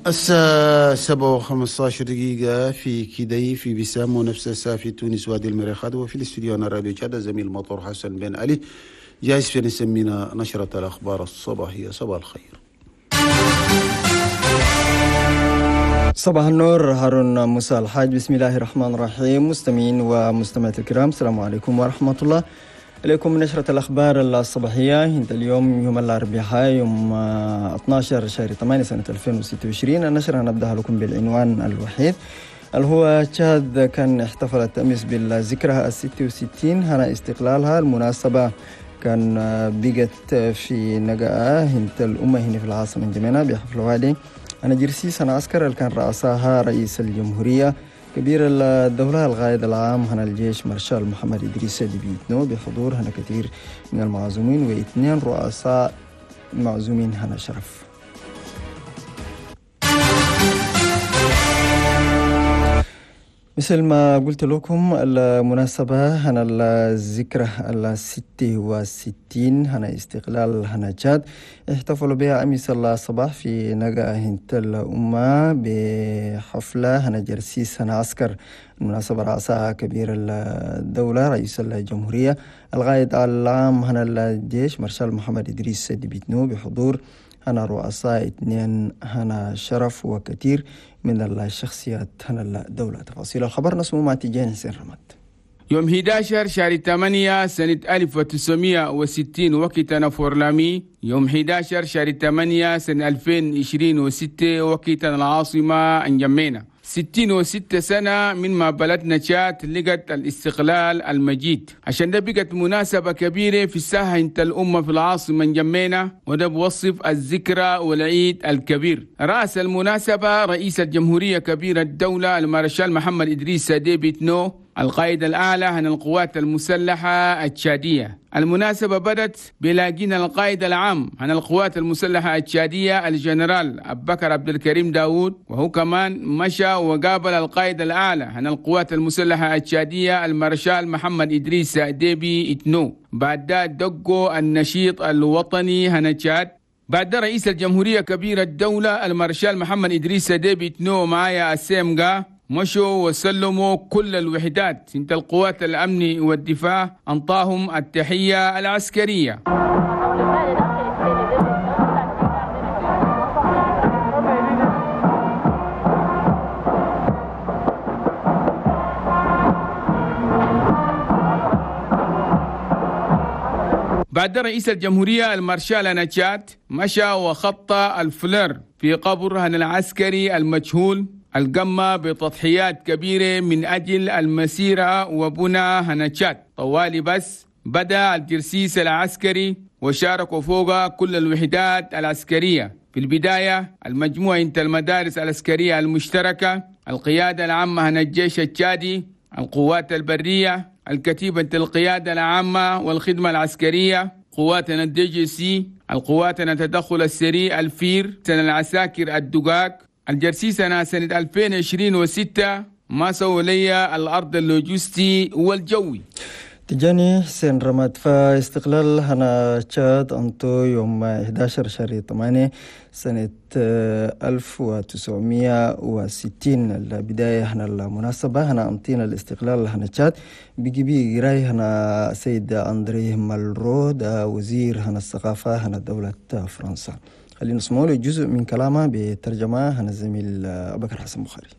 الساعة 7:15 في كدي في بسام، ونفس الساعة في تونس وادي المريخات. وفي الاستوديو أنا راديو تشاد زميل مطر حسن بن علي جاهز في نسمينا نشرة الأخبار الصباحية. صباح الخير. صباح النور هارون موسى الحاج. بسم الله الرحمن الرحيم. مستمعين ومستمعات الكرام، السلام عليكم ورحمة الله. إليكم نشرة الأخبار الصباحية عند اليوم يوم الأربعاء يوم 12 شهر 8 سنة 2026. النشرة نبدأها لكم بالعنوان الوحيد اللي هو تشاد كان احتفلت أمس بالذكرى 66 هنا استقلالها. المناسبة كان بقت في نقاء هنت الأمة هنا في العاصمة جمينة بحفل والي أنا جرسيس أنا عسكر اللي كان رأسها رئيس الجمهورية كبير الدولة القائد العام هنا الجيش مارشال محمد إدريس ديبي إتنو بحضور هنا كثير من المعزومين واثنين رؤساء معزومين هنا شرف. مثل ما قلت لكم المناسبة هنا الذكرى 66 هنا استقلال هنا تشاد احتفلوا بها أمس الصباح في نقا هنت الأمة بحفلة هنا جرسيس هنا عسكر. المناسبة رأسها كبير الدولة رئيس الجمهورية القائد العام هنا الجيش مارشال محمد إدريس ديبي إتنو بحضور هنا رؤساء اثنين هنا شرف وكثير من الشخصيات هنا الدولة. تفاصيل الخبر نسمو مع تيجان حسين رماد. يوم 11 شهر 8 سنة 1960 وقتنا فورلامي. يوم 11 شهر 8 سنة 2026 وقتنا العاصمة انجمينا. 66 سنة من ما بلدنا تشاد لقت الاستقلال المجيد، عشان ده بقت مناسبة كبيرة في الساحة انت الأمة في العاصمة انجمينا، وده بوصف الذكرى والعيد الكبير. رأس المناسبة رئيس الجمهورية كبير الدولة المارشال محمد إدريس ديبي إتنو القائد الأعلى عن القوات المسلحة التشادية. المناسبة بدت بلاقينا القائد العام عن القوات المسلحة التشادية الجنرال أبو بكر عبد الكريم داوود، وهو كمان مشى وقابل القائد الأعلى عن القوات المسلحة التشادية المارشال محمد إدريس ديبي إتنو. بعد دقوا النشيط الوطني هنا تشاد. بعد رئيس الجمهورية كبير الدولة المارشال محمد إدريس ديبي إتنو معايا السيمغا مشوا وسلموا كل الوحدات انت القوات الأمن والدفاع أنطاهم التحية العسكرية. بعد رئيس الجمهورية المارشال نتشات مشى وخط الفلر في قبر العسكري المجهول القمة بتضحيات كبيرة من أجل المسيرة وبنى هنشات. طوالي بس بدأ الجرسيس العسكري وشاركوا فوق كل الوحدات العسكرية. في البداية المجموعة انت المدارس العسكرية المشتركة، القيادة العامة هنا الجيش التشادي، القوات البرية، الكتيبة القيادة العامة والخدمة العسكرية، قواتنا الدي جي سي، القواتنا التدخل السريع الفير، سنة العساكر الدقاق. الجرسيس أنا سنة 2026 ما سووا لي الأرض اللوجستي والجوي. تجاني حسين رماد. فاستقلال هنا تشاد أنتو يوم 11 شهر 8 سنة 1960 البداية هنا المناسبة هنا أنطينا الاستقلال هنا تشاد بيجي بي راي هنا سيد أندريه مالرو ده وزير هنا الثقافة هنا دولة فرنسا. خلينا نسمعوا له جزء من كلامه بترجمة هنا الزميل أبو بكر حسن بخاري.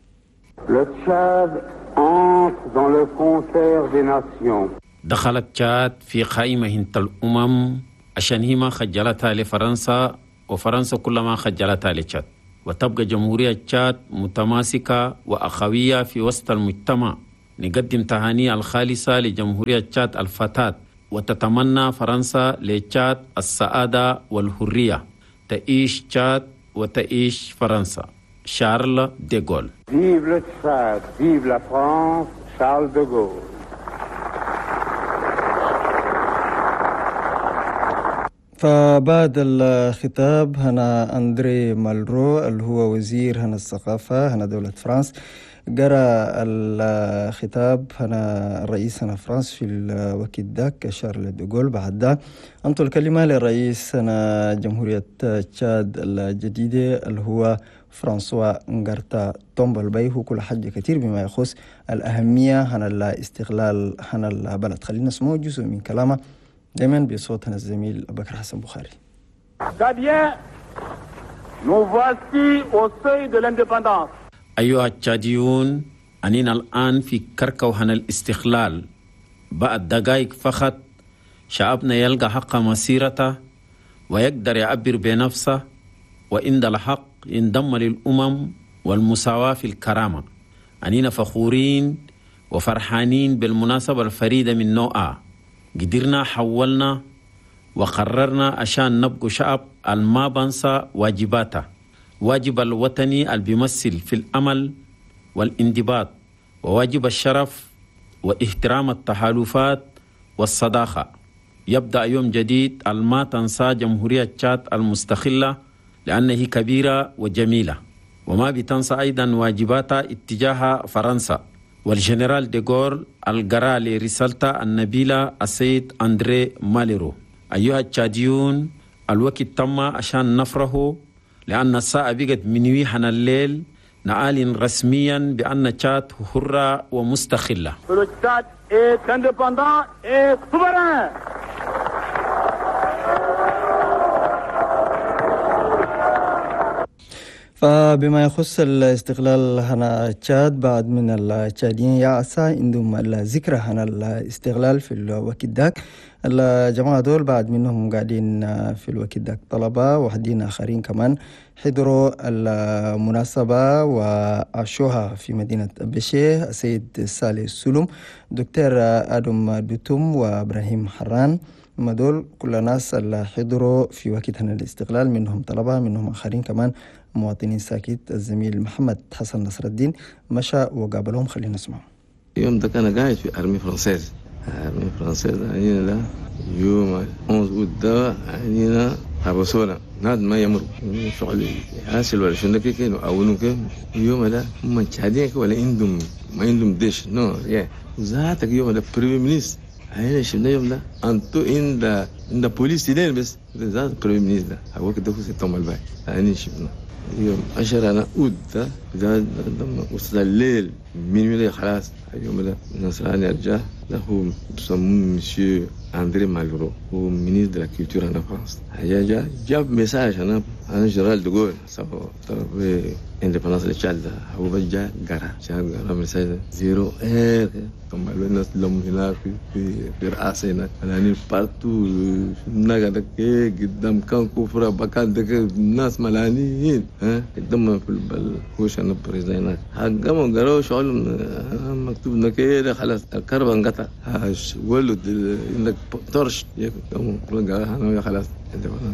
Le Tchad entre dans le concert des nations. دخلت تشاد في قائمة هنت الأمم عشان هي ما خجلتها لفرنسا وفرنسا كلما خجلتها لتشاد، وتبقى جمهورية تشاد متماسكة وأخوية في وسط المجتمع. نقدم تهاني الخالصة لجمهورية تشاد الفتاة، وتتمنى فرنسا لتشاد السعادة والحرية. تعيش تشاد وتعيش فرنسا. شارل ديغول. Vive le Tchad, vive la France, Charles de Gaulle. فبعد الخطاب هنا أندري مالرو اللي هو وزير هنا الثقافة هنا دولة فرنسا قرأ الخطاب هنا الرئيس هنا فرنسا في الوقت ذاك شارل دوغول. بعد ده أنطوا الكلمة للرئيس هنا جمهورية تشاد الجديدة اللي هو فرانسوا نغارتا تومبالباي، هو كل حاجة كتير بما يخص الأهمية هنا الاستقلال هنا البلد. خلينا نسمع جزء من كلامه دايما بصوت هنا الزميل بكر حسن بخاري. Tchadiens, nous voici au seuil de l'indépendance. أيها التشاديون، أننا الآن في كركو هنا الاستقلال. بعد دقائق فقط شعبنا يلقى حق مسيرته ويقدر يعبر بنفسه، وإن الحق ينضم للأمم والمساواة في الكرامة. أننا فخورين وفرحانين بالمناسبة الفريدة من نوعها. قدرنا حولنا وقررنا عشان نبقى شعب الما بنسى واجباته، واجب الوطني اللي بيمثل في الأمل والانضباط، وواجب الشرف واحترام التحالفات والصداقة. يبدأ يوم جديد الما تنسى جمهورية تشاد المستقلة لأنه كبيرة وجميلة، وما بتنسى أيضا واجباتها اتجاه فرنسا. والجنرال ديغول القرا لرسالته النبيلة السيد أندري ماليرو. أيها التشاديون، الوقت تم عشان نفرحه، لأن الساعة بقت minuit هنا الليل. نعلن رسميا بأن تشاد حرة ومستقلة. Le Tchad est indépendant et souverain. فبما يخص الاستقلال هنا تشاد، بعد من التشاديين يعسى عندهم الذكرى هنا الاستقلال في الوقت ذاك. الجماعة دول بعد منهم قاعدين في الوقت ذاك طلبة، وحدين آخرين كمان حضروا المناسبة وعاشوها في مدينة بشيه، السيد سالي سلوم، دكتور آدم دوتوم، وإبراهيم حران. ما دول كل ناس اللي حضروا في وقت هنا الاستقلال، منهم طلبة منهم آخرين كمان مواطنين ساكت. الزميل محمد حسن نصر الدين مشى وقابلهم، خلينا نسمع. يوم ده كان قاعد في armée française، armée française علينا ده يوم 11 اوت ده علينا حبسونا ناد ما يمر شغل حاصل ولا شنو كده او كده. يوم ده هم تشادين ولا عندهم ما عندهم ديش non يا ذاتك. يوم ده premier ministre علينا شفنا يوم ده انتو عند بوليس دين بس ذات premier ministre ده هو كده في تومبالباي علينا شفنا يوم 10 اوت ده ده وصل الليل minuit خلاص. يوم ده نصراني رجع ده هو بسموه مسيو اندري مالرو، هو ministre de la culture en France. جا جاب message انا جنرال دوغول سو طلب indépendance لتشاد. هو جا قرا قرا message zéro heure ثم الناس لم هناك في رئاسة هناك يعني partout الناقة قدام كان كفرة بكان دك الناس ملانيين ها قدام في الهوش انا président هناك حقهم قراوا شغل مكتوب كده خلاص الكهرباء انقطع ولد عندك torche قالوا خلاص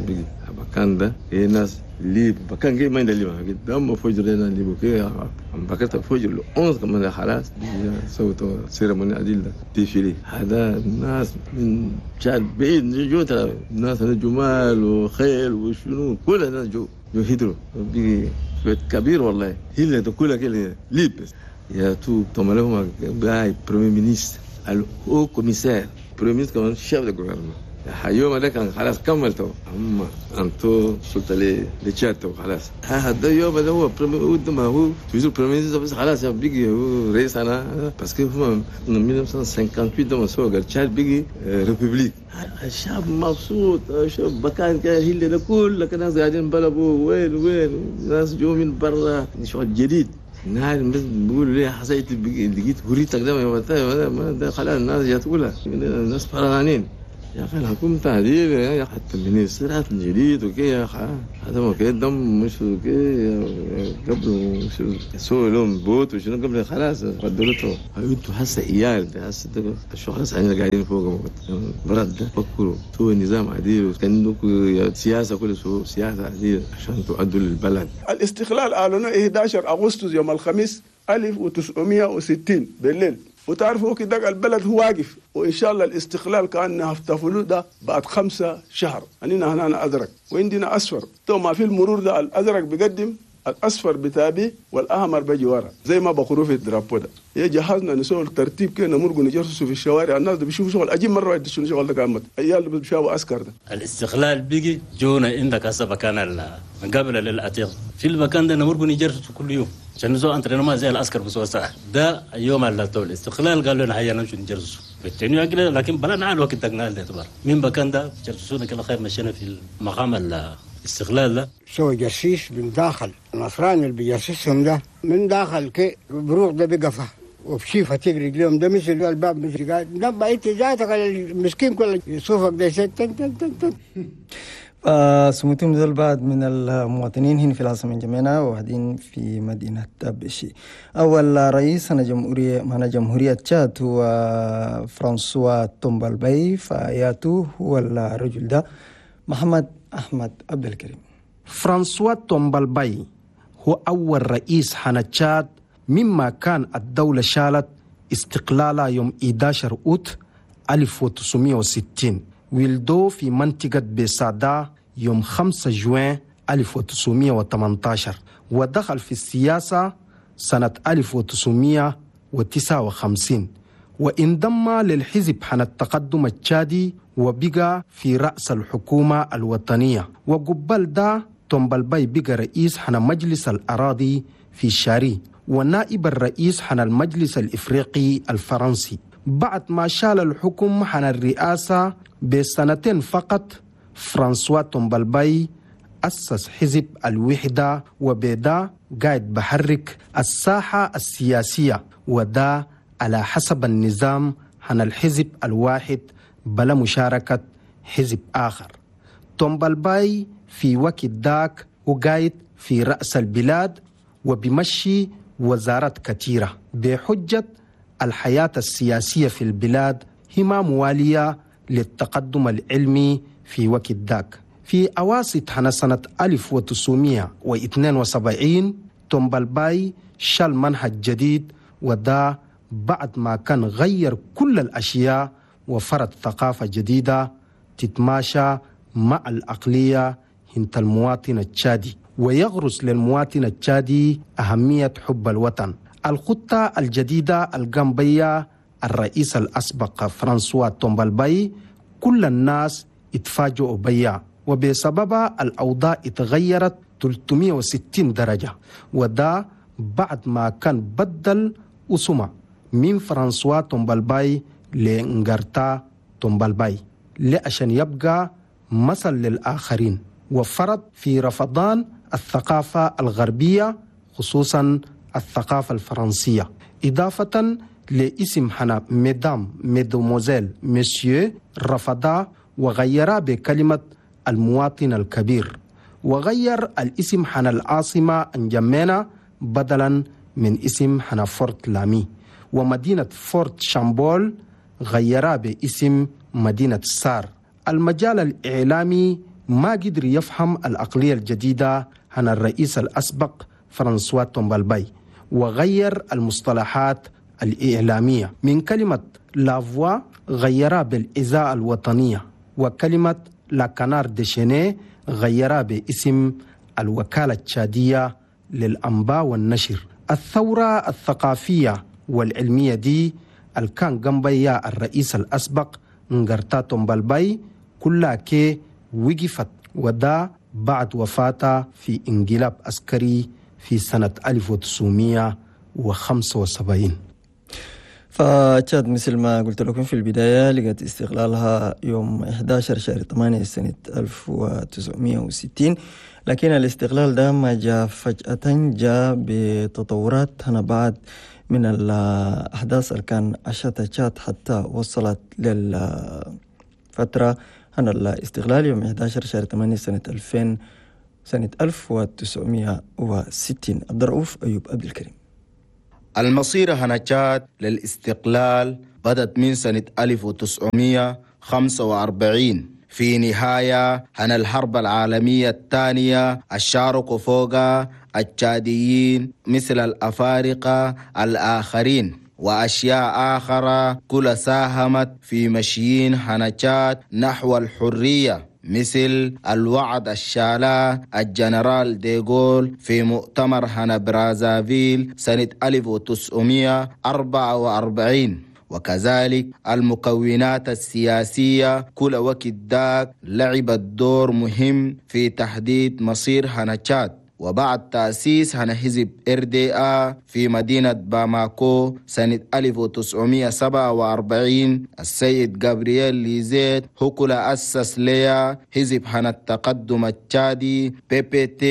بيجي بكان ده ايه ناس ليب بكان جاي ما عند ليب قدام فجر لنا ليب كي بكرت فجر له 11 كمان خلاص سوتوا cérémonie عديل ده défilé. هذا الناس من شعب بعيد جو ترى الناس جمال وخيل وشنو كل الناس جو هدروا بيجي بيت كبير والله هي كلها كده ليب يا تو تمالهم باي premier ministre ال haut commissaire premier ministre كمان chef de gouvernement. يوم ده كان خلاص كملته اما انتو سلطه لتشاتو خلاص. هذا يوم ده هو premier ما هو toujours premier ministre بس خلاص بيجي هو رئيس انا parce que هو من 1958 ده سوق تشاد بيجي république. الشعب مبسوط شوف بكان كان هي ده كل الناس قاعدين بلبوا وين وين ناس جو من برا شغل جديد. نعم بس بيقولوا ليه حسيت لقيت هريتك ده ما ده خلاص الناس جات كلها الناس فرحانين يا اخي. الحكومة تعديل يا حتى المينسترات الجديد وكي يا اخي هذا ما كان دم مش وكي قبل مش سووا لهم بوت وشنو قبل خلاص بدلته. انتوا هسه عيال هسه شو خلاص احنا قاعدين فوق برد ده فكروا سووا نظام عديل وكان سياسة كل سووا سياسة عديل عشان تؤدوا للبلد. الاستقلال اعلنوا 11 اغسطس يوم الخميس 1960 بالليل. وتعرفوا وقت ده البلد هو واقف، وان شاء الله الاستقلال كان احتفلوا ده بعد 5 شهر. اننا هنا ازرق وعندنا اصفر، تو ما في المرور ده الازرق بيقدم، الاصفر بتابي، والاحمر بيجي ورا زي ما بقولوا في ال drapeau ده. يا جهزنا نسوي الترتيب كده نمرق نجرسوا في الشوارع، الناس ده بيشوفوا شغل اجيب مرة واحدة شنو شغل ده كامل، عيال اللي بيشافوا عسكر ده. الاستقلال بيجي جونا عندك هسه مكان قبل للعتيق في المكان ده نمرق نجرسوا كل يوم عشان نسوي entraînement زي العسكر بسوى ساعة ده يوم على طول الاستقلال قالوا لنا هيا نمشي نجرسوا بالتاني لكن بلا نعال وقت دقنا الاعتبار من مكان ده جرسونا كل خير، مشينا في المقام الاستقلال ده. سوى جرسيس من داخل النصراني اللي بيجرسسهم ده من داخل كي بروح ده بقفه وبشيفه تجري رجليهم ده مثل الباب مثل قاعد نبع انت ذاتك المسكين كله يصوفك ده تن تن تن تن. سموتهم ذل بعض من المواطنين هنا في العاصمة جمينة وواحدين في مدينة بشي. أول رئيس هنا جمهورية تشاد هو فرانسوا تومبالباي، فياتو هو الرجل ده محمد أحمد عبد الكريم. فرانسوا تومبالباي هو أول رئيس حنا تشاد مما كان الدولة شالت استقلالها يوم 11 أوت 1960، ولدوا في منطقة بيسادا يوم 5 جوان 1918، ودخل في السياسة سنة 1959، وانضم للحزب حنا التقدم التشادي وبقى في رأس الحكومة الوطنية. وقبل ده تومبالباي بقى رئيس حنا مجلس الأراضي في شاري ونائب الرئيس حنا المجلس الإفريقي الفرنسي. بعد ما شال الحكم حنا الرئاسة بسنتين فقط، فرانسوا تومبالباي أسس حزب الوحدة وبدا قاعد بحرك الساحة السياسية، ودا على حسب النظام حنا الحزب الواحد بلا مشاركة حزب آخر. تومبالباي في وقت داك وقايد في رأس البلاد وبمشي وزارات كثيرة بحجة الحياة السياسية في البلاد هي ما موالية للتقدم العلمي في وقت داك. في أواسط سنة 1972 تومبالباي شال منهج جديد، ودا بعد ما كان غير كل الأشياء وفرض ثقافة جديدة تتماشى مع العقلية هنت المواطن التشادي، ويغرس للمواطن التشادي أهمية حب الوطن. الخطة الجديدة الجنبية الرئيس الأسبق فرانسوا تومبالباي كل الناس اتفاجئوا بيا، وبسببها الأوضاع اتغيرت 360 درجة، وده بعد ما كان بدل أسمه من فرانسوا تومبالباي لإنغارتا تومبالباي لعشان يبقى مثل للآخرين، وفرض في رفضان الثقافة الغربية خصوصا الثقافة الفرنسية، إضافة لاسم حنا mesdames mesdemoiselles messieurs رفضا وغيرا بكلمة المواطن الكبير، وغير الاسم حنا العاصمة انجمينا بدلا من اسم حنا فورت لامي، ومدينة فورت شامبول غيرا باسم مدينة سار. المجال الإعلامي ما قدر يفهم العقلية الجديدة عن الرئيس الأسبق فرانسوا تومبالباي، وغير المصطلحات الإعلامية من كلمة La Voix غيرها بالإذاعة الوطنية، وكلمة Le Canard déchaîné غيرها باسم الوكالة التشادية للأنباء والنشر. الثورة الثقافية والعلمية دي الكان جنبيا الرئيس الأسبق نغرتا تومبالباي كلها كي وقفت، ودا بعد وفاته في انقلاب عسكري في سنة 1975. فتشاد مثل ما قلت لكم في البداية لقت استقلالها يوم 11 شهر 8 سنة 1960، لكن الاستقلال ده ما جاء فجأة، جاء بتطورات هنا بعد من الأحداث اللي كان عاشتها تشاد حتى وصلت للفترة هنا الاستقلال يوم 11 شهر 8 سنة 1960. عبد الرؤوف أيوب عبد الكريم. المصيرة هنا تشاد للاستقلال بدت من سنة 1945 في نهاية هنا الحرب العالمية الثانية، الشارك فوق التشاديين مثل الأفارقة الآخرين، وأشياء آخرى كل ساهمت في مشيين هنا تشاد نحو الحرية، مثل الوعد الشالا الجنرال ديغول في مؤتمر هنا برازافيل سنة 1944. وكذلك المكونات السياسية كل وقت داك لعبت دور مهم في تحديد مصير هنا تشاد. وبعد تأسيس هنا حزب RDA في مدينة باماكو سنة 1947، السيد جابرييل ليزيت هو كل أسس ليا حزب هنا التقدم التشادي PPT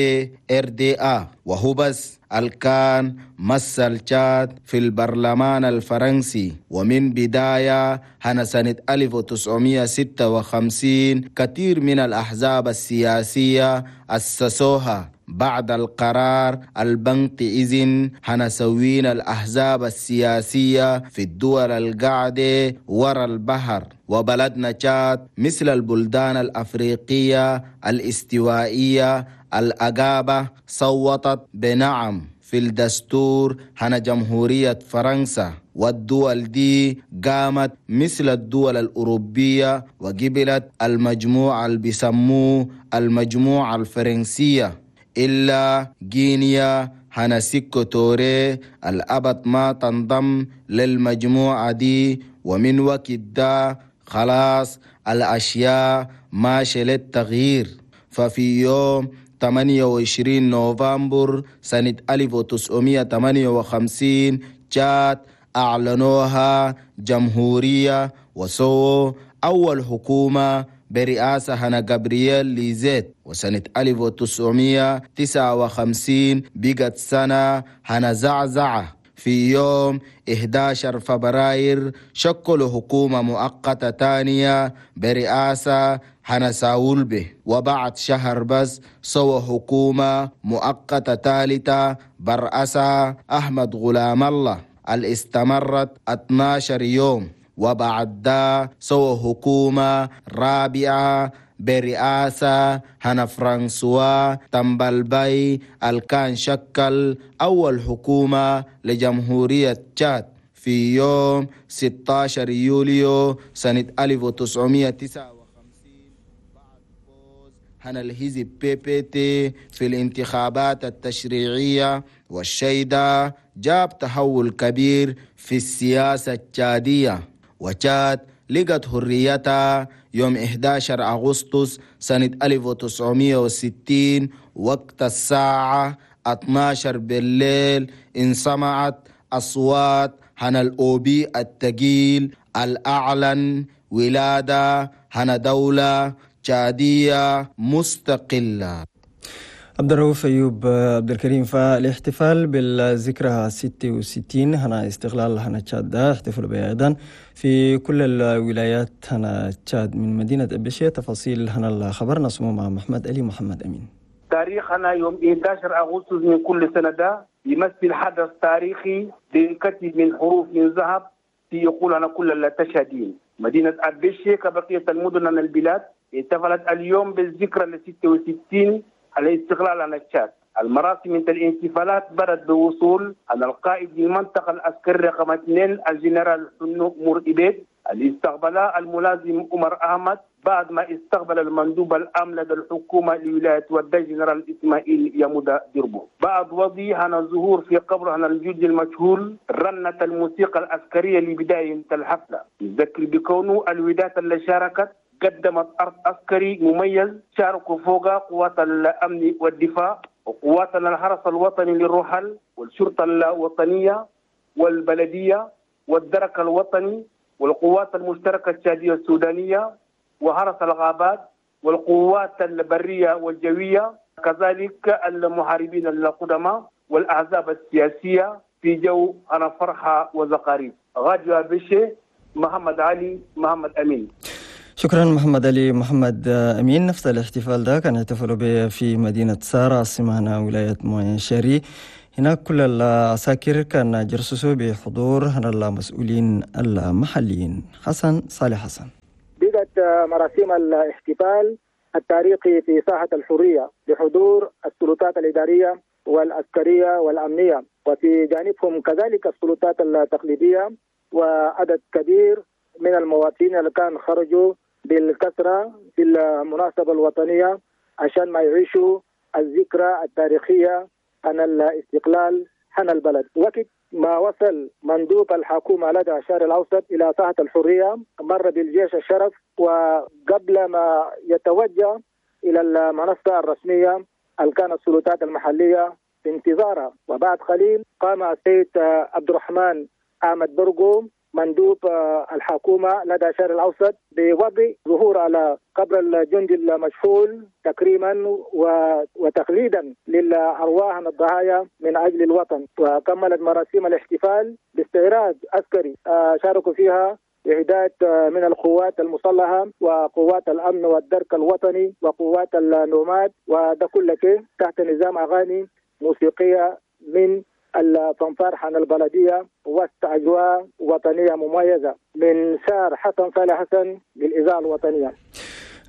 RDA، وهو بس الكان مثل تشاد في البرلمان الفرنسي. ومن بداية هنا سنة 1956 كثير من الأحزاب السياسية أسسوها. بعد القرار البنك إذن هنسوين الأحزاب السياسية في الدول القاعدة ورا البحر. وبلدنا تشاد مثل البلدان الأفريقية الاستوائية الأجابة صوتت بنعم في الدستور هنا جمهورية فرنسا، والدول دي قامت مثل الدول الأوروبية وقبلت المجموعة اللي بيسموه المجموعة الفرنسية، إلا غينيا هنا سيكو توري الأبد ما تنضم للمجموعة دي. ومن وقت ده خلاص الأشياء ماشية للتغيير. ففي يوم 28 نوفمبر سنة 1958 تشاد أعلنوها جمهورية وسووا أول حكومة برئاسة هنا جابرييل ليزيت. وسنة 1959 بقت سنة هنا زعزعة. في يوم 11 فبراير شكلوا حكومة مؤقتة تانية برئاسة هنا ساولبه، وبعد شهر بس سووا حكومة مؤقتة ثالثة برئاسة أحمد غلام الله اللي استمرت 12 يوم. وبعد ده سووا حكومة رابعة برئاسة هنا فرانسوا تمبلباي الكان شكل أول حكومة لجمهورية تشاد في يوم 16 يوليو سنة 1959 بعد فوز هنا الحزب PPT في الانتخابات التشريعية. والشيء جاب تحول كبير في السياسة التشادية، وتشاد لقت حريتها يوم 11 أغسطس سنة 1960 وقت الساعة 12 بالليل. انسمعت أصوات هنا الأوبي التقيل الأعلن ولادة هنا دولة تشادية مستقلة. عبد الرؤوف أيوب عبد الكريم، فالاحتفال بالذكرى 66 هنا استقلال هنا تشاد احتفلوا بها أيضا في كل الولايات هنا تشاد. من مدينة أبشية تفاصيل هنا الخبر نسمع مع محمد علي محمد أمين. تاريخنا يوم 11 أغسطس من كل سنة ده يمثل حدث تاريخي بينكتب من حروف من ذهب في يقول كل التشادين. مدينة أبشية كبقية المدن من البلاد احتفلت اليوم بالذكرى 66 على استقلال عن تشاد. المراسم من الاحتفالات بدأت بوصول على القائد للمنطقة العسكرية رقم 2 الجنرال حنو مور إبيد اللي استقبل الملازم عمر أحمد بعد ما استقبل المندوب العام لدى الحكومة لولاية ودى جنرال إسماعيل يمودا ديربو. بعد وضيح عن الظهور في قبر عن الجندي المجهول رنت الموسيقى العسكرية لبداية الحفلة. يذكر بكونه الولايات اللي شاركت قدمت أرض عسكري مميز شاركوا فوق قوات الأمن والدفاع وقوات الحرس الوطني للرحل والشرطة الوطنية والبلدية والدرك الوطني والقوات المشتركة التشادية السودانية وحرس الغابات والقوات البرية والجوية، كذلك المحاربين القدماء والأحزاب السياسية في جو أنا فرحة وزقاريب. غادي بشي محمد علي محمد أمين. شكرا محمد علي محمد أمين. نفس الاحتفال ده كان يحتفلوا به في مدينة سارة عاصمة ولاية موين-شاري. هناك كل العساكر كان جرسسوا بحضور هنا المسؤولين المحليين. حسن صالح حسن. بدأت مراسم الاحتفال التاريخي في ساحة الحرية بحضور السلطات الإدارية والعسكرية والأمنية. وفي جانبهم كذلك السلطات التقليدية وعدد كبير من المواطنين اللي كان خرجوا بالكثرة في المناسبة الوطنية عشان ما يعيشوا الذكرى التاريخية عن الاستقلال عن البلد. وقت ما وصل مندوب الحكومة لدى الشرق الأوسط إلى ساحة الحرية مر بالجيش الشرف، وقبل ما يتوجه إلى المنصة الرسمية اللي كانت السلطات المحلية في انتظاره. وبعد قليل قام السيد عبد الرحمن أحمد برقو مندوب الحكومة لدى الشرق الأوسط بوضع ظهور على قبر الجندي المجهول تكريما وتخليدا للأرواح الضحايا من أجل الوطن. وكملت مراسيم الاحتفال باستعراض عسكري شاركوا فيها إعداد من القوات المسلحة وقوات الأمن والدرك الوطني وقوات النوماد، وده كله تحت نظام أغاني موسيقية من الفنفار حن البلدية وسط أجواء وطنية مميزة. من سار حسن صالح حسن للإذاعة الوطنية.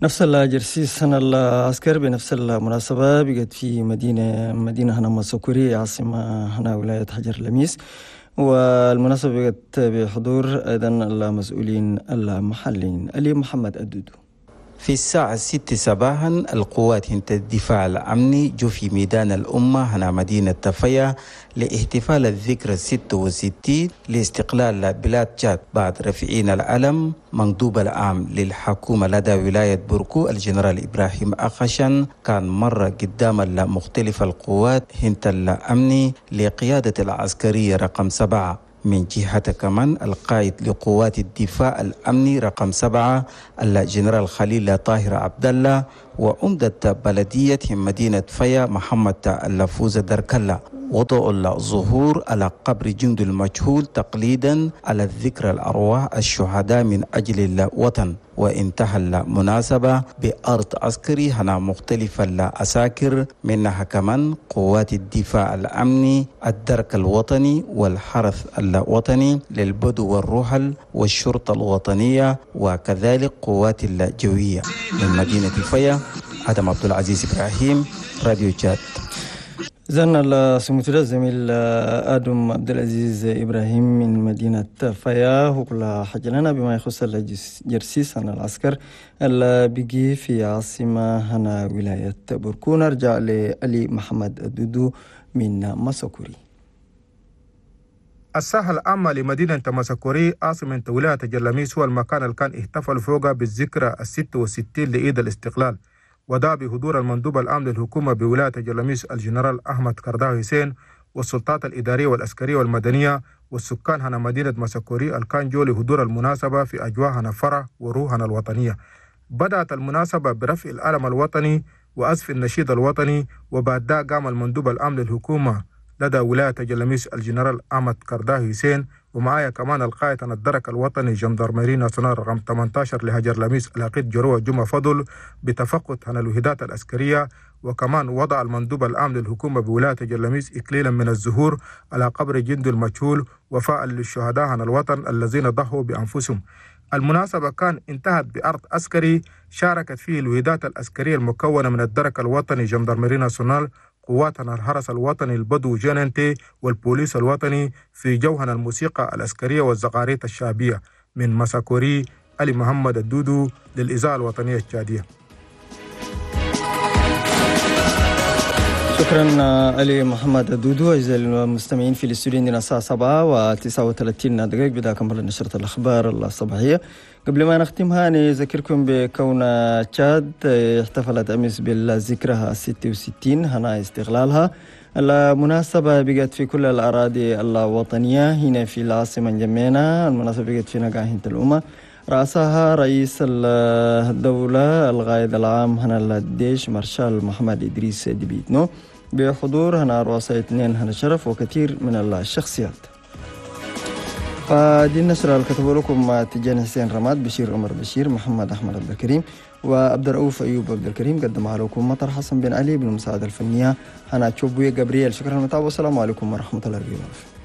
نفس الجرسيس هنا العسكر بنفس المناسبة بقت في مدينة هنا مسوكوري عاصمة هنا ولاية حجر لميس، والمناسبة بقت بحضور أيضا المسؤولين المحليين. علي محمد الدودو. في الساعة 6 صباحا القوات الدفاع الأمني جو في ميدان الأمة هنا مدينة تفيا لاحتفال الذكرى 66 لاستقلال بلاد تشاد بعد رفعين العلم. مندوب العام للحكومة لدى ولاية بوركو الجنرال إبراهيم أخشن كان مرة قدام مختلف القوات هنت الأمني لقيادة العسكرية رقم 7. من جهة كمان القائد لقوات الدفاع الأمني رقم 7 الجنرال خليل طاهر عبد الله وعمدة بلدية مدينة فيا محمد اللفوز دركلا وضعوا الظهور على قبر جند المجهول تقليدا على الذكرى الأرواح الشهداء من أجل الوطن. وانتهى المناسبة بأرض عسكري هنا مختلف العساكر منها كمان قوات الدفاع الأمني الدرك الوطني والحرس الوطني للبدو والرحل والشرطة الوطنية وكذلك قوات الجوية. من مدينة فيا آدم عبد العزيز إبراهيم، راديو تشاد. زلنا السموتر الزميل آدم عبد العزيز إبراهيم من مدينة فيا وكل حاجة لنا بما يخص الجرسيس عن العسكر اللي بيجي في عاصمة هنا ولاية بوركو. نرجع لعلي محمد الدودو من مساكوري. الساحة العامة لمدينة مساكوري عاصمة ولاية جلميس هو المكان اللي كان احتفل فوقه بالذكرى 66 لعيد الاستقلال، ودا بحضور المندوب العام للحكومة بولاية جلميس الجنرال أحمد كرداوي حسين والسلطات الإدارية والعسكرية والمدنية والسكان هنا مدينة مساكوري الكان جو لحضور المناسبة في أجواء هنا فرح وروحنا الوطنية. بدأت المناسبة برفع العلم الوطني وأسف النشيد الوطني، وبعد قام المندوب العام للحكومة لدى ولاية جلميس الجنرال أحمد كرداوي حسين ومعايا كمان القائد عن الدرك الوطني gendarmerie nationale رقم 18 لهجر لميس العقيد جروة جمعة فضل بتفقد عن الوحدات العسكرية، وكمان وضع المندوب العام للحكومة بولاية جلميس إكليلا من الزهور على قبر جند المجهول وفاء للشهداء عن الوطن الذين ضحوا بأنفسهم. المناسبة كان انتهت بعرض عسكري شاركت فيه الوحدات العسكرية المكونة من الدرك الوطني gendarmerie nationale، قواتنا الحرس الوطني البدو GNT والبوليس الوطني في جوهن الموسيقى العسكرية والزغاريت الشعبية. من مساكوري علي محمد الدودو للإذاعة الوطنية التشادية. شكرا علي محمد الدودو. أعزائي المستمعين في الاستوديو عندنا الساعة 7:39 دقائق. بدأ كمل نشرة الأخبار الصباحية. قبل ما نختمها نذكركم بكون تشاد احتفلت أمس بالذكرى 66 هنا استغلالها. المناسبة بقت في كل الأراضي الوطنية. هنا في العاصمة جمينة المناسبة بقت في نقاهة الأمة، رأسها رئيس الدولة القائد العام هنا الجيش مارشال محمد إدريس ديبيتنو بحضور هنا رؤساء 2 هنا شرف وكثير من الشخصيات. فدي النشرة اللي كتبوا لكم تجاني حسين رماد، بشير عمر بشير، محمد أحمد عبد الكريم، وعبد الرؤوف أيوب عبد الكريم. قدمها لكم مطر حسن بن علي بالمساعدة الفنية هنا تشوبوي جابرييل. شكرا للمتابعة والسلام عليكم ورحمة الله وبركاته.